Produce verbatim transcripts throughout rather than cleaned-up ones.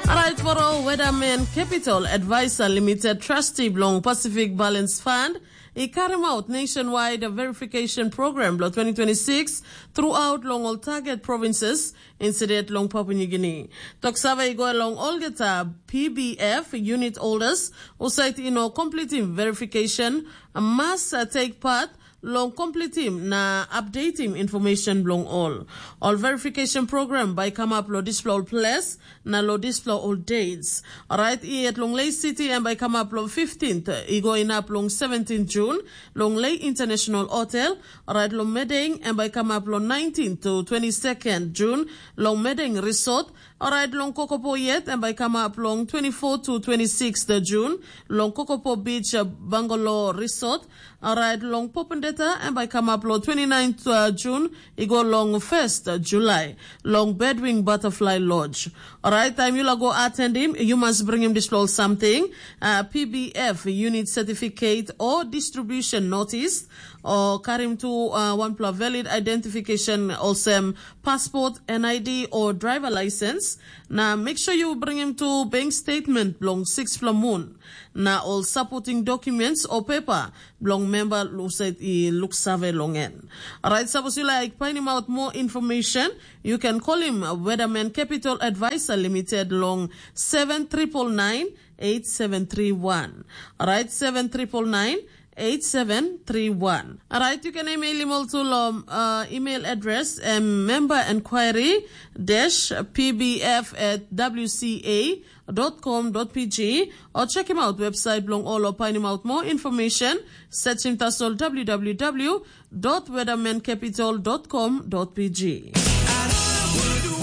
Alright, for all Weatherman Capital Advisor Limited, trustee bilong Pacific Balance Fund, i karim out nationwide verification program bilong twenty twenty-six throughout long all target provinces, instead long Papua New Guinea. Tok save i go along olgeta P B F unit holders, husat i no completing verification, must uh, take part long completing na updating information bilong all. All verification program by come up lo dispela ol place, na lo dispela ol dates. Alright, i at long Lei City and by come up lo fifteenth, i go in up long seventeenth June, long Lei International Hotel. Alright, lo Medeng and by come up lo nineteenth to twenty-second June, long Medeng Resort. Alright, long Kokopo yet and by come up long twenty-fourth to twenty-sixth June, long Kokopo Beach uh, Bungalow Resort. Alright, long Popendeta and by come up long twenty-ninth uh, June, i go long first uh, July, long Bedwing Butterfly Lodge. Alright, time you go attend him, you must bring him this little something, uh, P B F unit certificate or distribution notice, or carry him to uh, one plus valid identification, also passport, N I D or driver license. Now make sure you bring him to bank statement belong six moon. Na ol supporting documents o pepa bilong memba husat i luksave long en. Alright, sapos yu laik painim out more information, you can call him Weatherman Capital Advisor Limited long seven triple nine eight seven three one. Alright, seven triple nine eight seven three one. Alright, you can email him also long uh, email address and member inquiry dash pbf at wca dot com dot pg, or check him out website bilong ol o painim out more information. Search him tasol www dot weathermancapital dot com dot pg.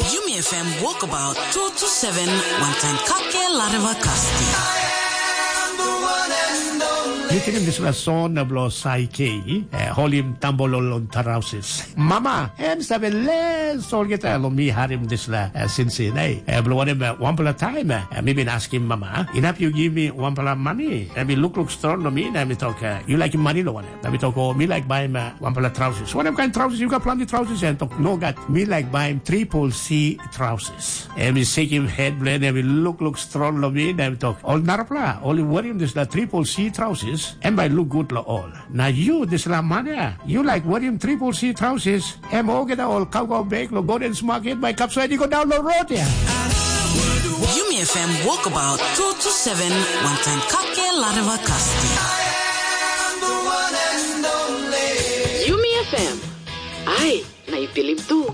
Yumi F M Walkabout two two seven, one time kake lareva kasti. Yu tingim dispela song na bilong Saike, eh, holim tambolol long tarausis. Mama, em save les olgeta long mi harim dispela eh, sinsin. Ei, eh, bilong wanem eh, wanpela taim eh, mi bin askim mama, inap yu givim mi wanpela mani. Em i lukluk strong long mi, na em i tok, eh, yu laikim mani long wanem? Na mi tok, o, mi laik baim eh, wanpela trausis. Wanem kain trausis? Yu gat planti trausis. Em tok, nogat, mi laik baim tripol C trausis. Em i sekim het bilong en, em i lukluk strong long mi, na em tok, ol narapela, ol i werim dispela tripol C trausis, em bai luk gut long ol. Na yu, dispela man ya, yu laik werim tripol C trausis, em olgeta ol kaukau bek long Gordens Market bai kapsait i go daun long rot ya. Yumi F M Walkabout two two seven, one time kake lareva kasti. Yumi F M. Ai, na i pilim tu.